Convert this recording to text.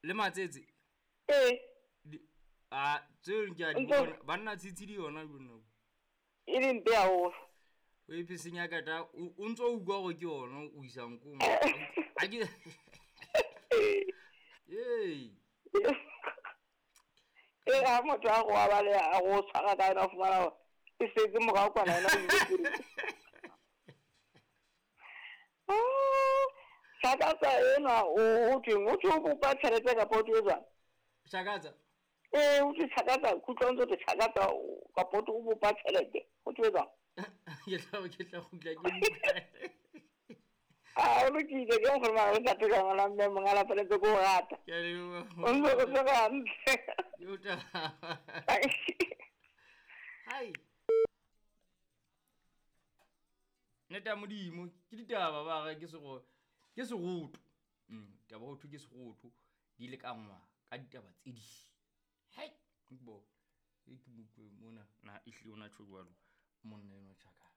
Le matsetse? Ee. A tseo ke a di bona. Banna tshitshidi yona jonna. E le mpe haholo. O e phesenya ka ta o ntso o utlwa gore ke yona o isang ko. A ke Ee. E ga motho a go abale a go tshwara ka yona o fumana gore e setse morao kwana yona o ile pele. Shakatsa enwa o thweng o thwe o bopa tjhelete kapa o thwe jwang? Shakatsa. Ee, o thwe shakatsa, kutlwa o ntse o thwe shakatsa kapa o thwe o bopa tjhelete. O thwe jwang? Ke tla kgutla ke utlwa. A o lokile ke nkgono mara le ntate ka ngwana mme monga la tshwanetse ke o rata. Ke a leboha. O ntse o tshwere hantle. Ke o taba. Hai. Nnete ya Modimo ke ditaba ba re ke sego ke seroto. Taba ho thwe ke seroto di lekangwa ka ditaba tse ding. Hai, bo. E ke mo utlwe mona na ehlile o na tjho jwalo monna enwa tjhaka.